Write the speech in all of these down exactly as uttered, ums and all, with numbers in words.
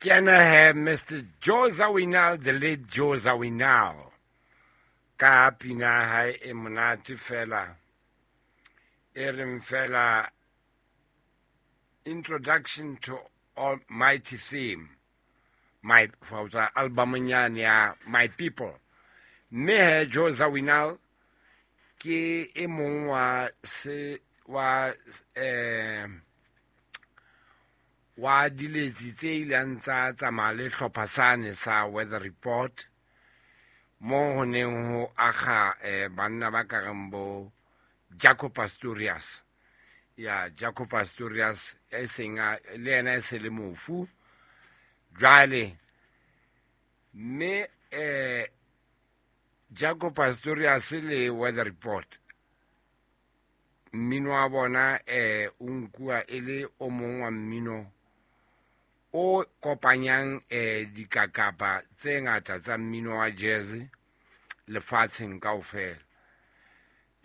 Ke ena he Mister Joe Zawinul, the late Joe Zawinul, ka pina ya hae e monate fela, e reng fela Introduction to Almighty Theme, my for album nyane ya My People. Mme he Joe Zawinul ke e mong wa se wa, eh, wa diletsi tse ileng tsa tsamaya le hlopha sane sa Weather Report, mo ho neng ho akga, eh, banna ba ka reng bo Jaco Pastorius. Ya Jaco Pastorius e seng a, le yena e se le mofu jwale. Mme, eh, Jaco Pastorius le Weather Report, mmino wa bona, eh, o nkuwa e le o mong wa mmino o kopanyang, eh, dikakapa tse ngata tsa mmino wa jazz lefatsheng kaofela.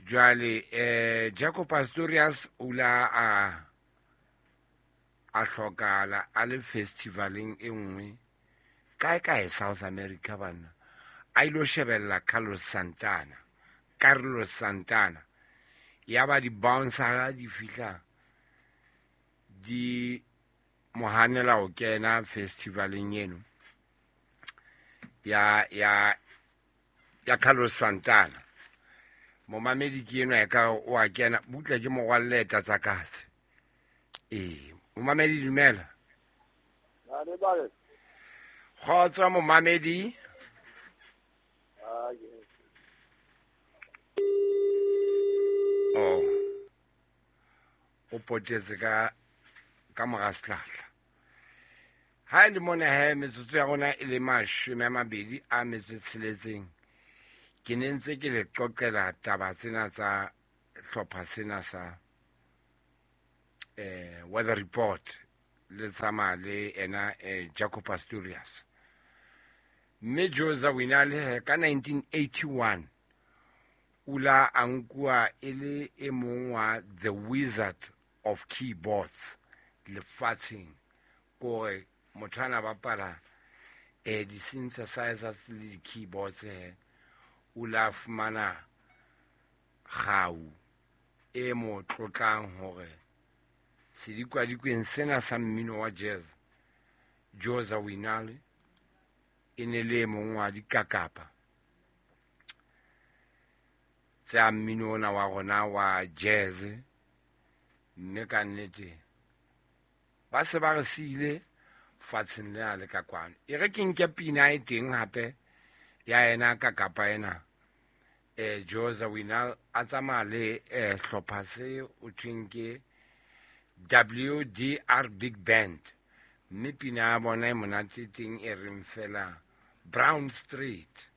Jwale, eh, Jaco Pastorius o la a, a hlokahala a le festivaleng e nngwe kae kae South America banna, a ilo shebella Carlos Santana, Carlos Santana. Ya ba di-bouncer di fihla di mo hanela ho kena festivaleng eno ya, ya, ya Carlos Santana. Momamedi ke enwa e ka o a kena butle ke morwalle tsa katse. Ee, momamedi dumela. Kgotso momamedi. Oh. O potetse ka, ka mora sehlahla. Ha e le mona he metsotso ya rona e le mashome a mabedi a metso e tsheletseng, ke ne ntse ke le qoqela taba tsena tsa hlopha sena sa, eh, Weather Report le tsamaya le ena, eh, Jaco Pastorius. Mme Joe Zawinul he ka nineteen eighty-one o la a nkuwa e le e mong wa the Wizard of Keyboards lefatsheng, kore motho ana bapala, eh, di-synthesizers le di-keyboards he, o la fumana kgau e mo tlotlang hore sedikwadikweni sena sa mmino wa jazz, Joe Zawinul e ne le e mong wa dikakapa tsa mmino ona wa rona wa jazz. Mme ka nnete ba se ba re siile fatsheng lena le ka kwano. E re ke nke pina e teng hape ya ena kakapa ena, eh, Joe Zawinul a tsamaya le, eh, hlopha se o thweng ke W D R Big Band, mme pina ya bona e monate teng e reng fela Brown Street.